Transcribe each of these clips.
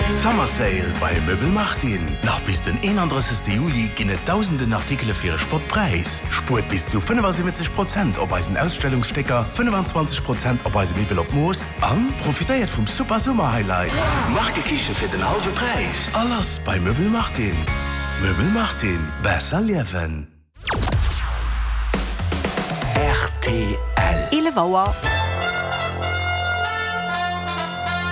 Summer Sale bei Möbel Martin! Nach bis den 31. Juli ginn et dausenden Artikele fir e Spottpräis. Spuert bis zu 75 Prozent op eisen Ausstellungsstécker, 25 Prozent op eise Miwwel op Mooss an profitéiert vum super Summer Highlight, Markekiche fir den hallwe Präis! A lass bei Möbel Martin! Möbel Martin, besser liewen! Rtl. 11 Auer.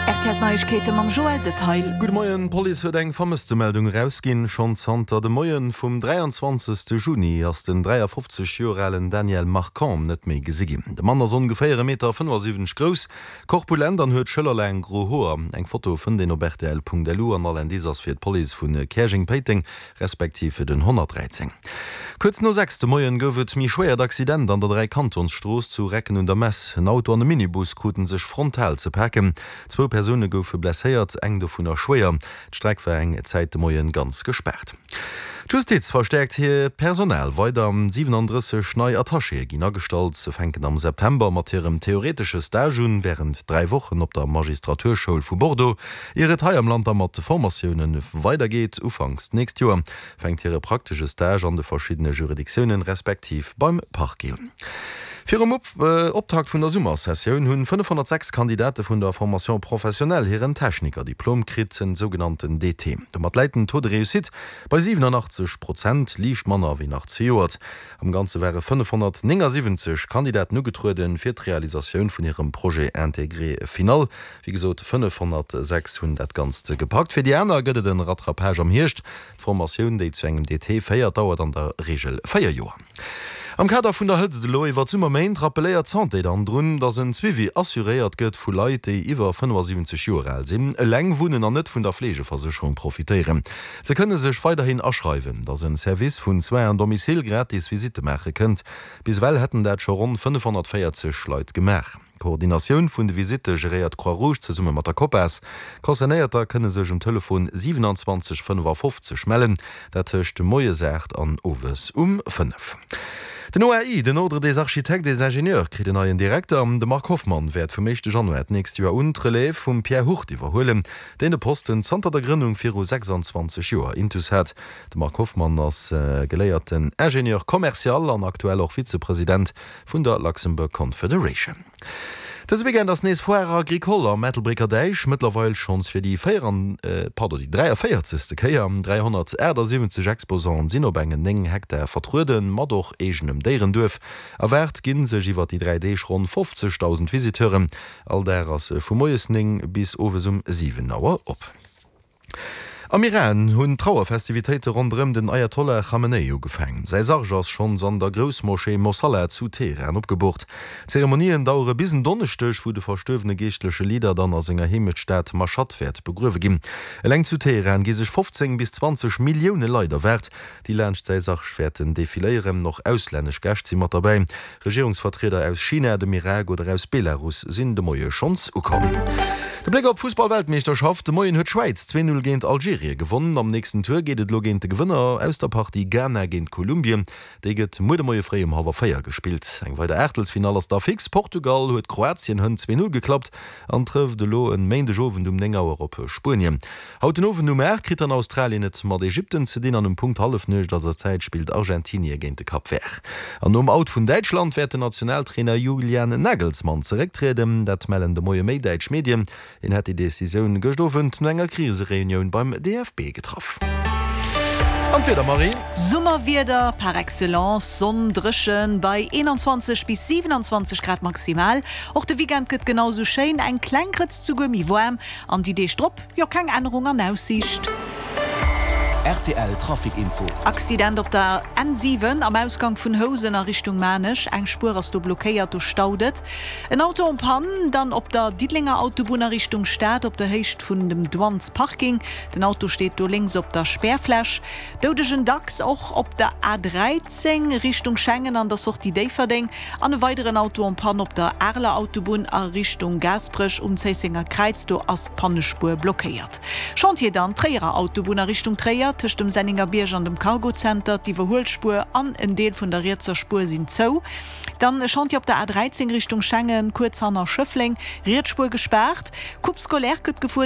RTL Neiegkeete mam Joël Detail. Gudde Moien, D'Police huet eng Vermësstemeldung erausginn. Schonn zanter dem Moien vum 23. Juni ass den 53 Joer alen Daniel Marcon net méi gesi ginn. De Mann ass ongeféier e Meter 75 grouss, korpulent an huet schëllerlaang gro Hoer. Eng Foto fënnt een op rtl.lu an all Indice ass fir d'Police vu Käerjeng-Péiteng respektiv fir den 113. Kuerz no 6 de Moien gouf et méi schwéiert Accident an der Dräikantonsstrooss zu Recken un der Mess. En Auto an e Minibus kruten sech frontal ze paken. Zwou Persoune goufe blesséiert, eng dovunner schwéier. D'Streck war eng Zäit de Moien ganz gespaart. D'Justiz verstäerkt hiert Personal weider. 37 nei Attachéë ginn agestallt. Se fänken am September mat hirem theoretesche Stage un, wärend 3 Wochen op der Magistraturschoul vu Bordeaux. Ier et hei am Land da mat de Formatioune weidergeet, ufanks d'nächst Joer, fänkt hire praktesche Stage an de verschiddene Juridictiounen, respektiv beim Parquet un. Virum Optakt vun der Summersessioun hunn 506 Kandidate vun der Formation professionnelle hiren Technikerdiplom kritt, den sougenannten DT. Domat läit den Taux de réussite bei 87 Prozent, liicht manner wéi nach zejoert. Am Ganze ware 579 Kandidaten ugetrueden, fir d'Realisatioun vun hirem Projet intégré final. Wéi gesot, 506 hunn dat Ganzt gepackt. Fir déi aner gëtt et en Rattrapage am Hierscht. D'Formatioun, déi zu engem DT féiert, dauert an der Reegel 4 Joer. Am Kader vun der Hëtzt elo iwwer d'Summerméint rappelléiert d'Santé dann drun, datt en Suivi assuréiert gëtt vu Leit, déi iwwer 75 Joer al sinn, eleng wunnen an net vun der Fleegeversécherung profitéieren. Se kënne sech weiderhin aschreiwen, datt en Service vun Soins à domicile gratis Visitte maache kënnt. Bis ewell hätten dat scho ronn 540 Leit gemaach. D'Koordinatioun vun de Visitte geréiert d'Croix Rouge zesumme mat der Copas. Concernéierter kënne sech um Telefon 27 55 mellen, dat tëscht moies 8 an owes um 5. Den OAI, den Ordre des Architectes et Ingénieurs, kritt en neien Direkter. De Marc Hoffmann wäert vum éischte Januar d'nächst Joer un d'Relève vum Pierre Hurt iwwerhuelen, deen de Posten zanter der Grënnung viru 26 Joer intus hat. De Marc Hoffmann ass geléierten Ingénieur commercial an aktuell och Vizepresident vun der Luxembourg Confederation. Dëse Weekend ass nees Foire Agricole am Ettelbrécker Däich, mëttlerweil schonns fir déi pardon, déi 43. Kéier. 378 Exposanten sinn op engen 9 Hektar vertrueden, mat och eegenem Déierenduerf. Erwaart ginn sech iwwer déi 3 Deeg ronn 50.000 Visiteuren. All Dag ass vu moies 9 bis owes um 7 Auer op. Am Iran hunn d'Trauerfestivitéite ronderëm den Ayatollah Khamenei ugefaang. Säi Sarg ass schonns an der Groussmoschee Mosalla zu Teheran opgeboort. D'Zeremonien dauere bis en Donneschdeg, wou de verstuerwene geeschtleche Leader dann a senger Heemechtstad Mashhad wäert begruewe ginn. Eleng zu Teheran gi sech 15 bis 20 Millioune Leit erwaart, déi laanscht säi Sarg wäerten defiléieren. Och auslännesch Gäscht si mat derbäi. Regierungsvertrieder aus China, dem Irak oder aus Belarus sinn de Moie schonns ukomm. De Bléck op d'Fussball-Weltmeeschterschaft, De Moien huet d'Schwäiz 2, 0 géint Algerien gewonnen. Am nächsten Tour geet et elo géint de Gewënner aus der Partie Ghana géint Kolumbien. Déi gëtt muer de Moie fréi um hallwer 4 gespillt. Eng weider Aachtelsfinall ass da fix. Portugal huet Kroatien hënt 2, 0 geklappt an trëfft elo en Méindegowend um 9 Auer op Spuenien. Haut den Owend um 8 kritt dann Australien et mat Ägypten ze dinn an um Punkt Hallefnuecht eiser Zäit spillt Argentinie géint de Cap Vert. An nom Out vun Däitschland wäert den Nationaltrainer Julian Nagelsmann zerécktrieden. Dat mellen de Moie méi däitsch Medien. Hien hätt déi Decisioun gëscht Owend no enger Krisereunioun beim DFB getraff. An d'Wieder, Marie? Summerwieder par excellence, Sonn, dréchen bei 21 bis 27 Grad maximal. Och de Weekend gëtt genau sou schéin, eng kleng Grëtz souguer méi waarm an déi Deeg drop Jo, keng Ännerung an Aussiicht. Rtl Trafic Info. Accident op der N7 am Ausgang vun Housen a Richtung Maarnech. Eng Spuer ass do blockéiert, do staut et. En Auto en panne dann op der Diddelenger Autobunn a Richtung Stad op der Héicht vun dem Douanesparking. Den Auto steet do lénks op der Spärfläch. Doudegen dacks och op der A13 Richtung Schengen an der Sortie Déifferdeng. An e weideren Auto en panne op der Areler Autobunn a Richtung Gaasperech um Zéissenger Kräiz, do ass d'Pannespuer blockéiert. Chantier dann Tréierer Autobunn a Richtung Tréier, tëscht dem Senningerbierg an dem Cargozenter, d'Iwwerhuelspuer an en Deel vun der rietser Spuer sinn zou. Dann e Chantier op der A 13 Richtung Schengen, kuerz hanner Schëffleng, riets Spuer gespaart. Coupe scolaire gëtt gefuer.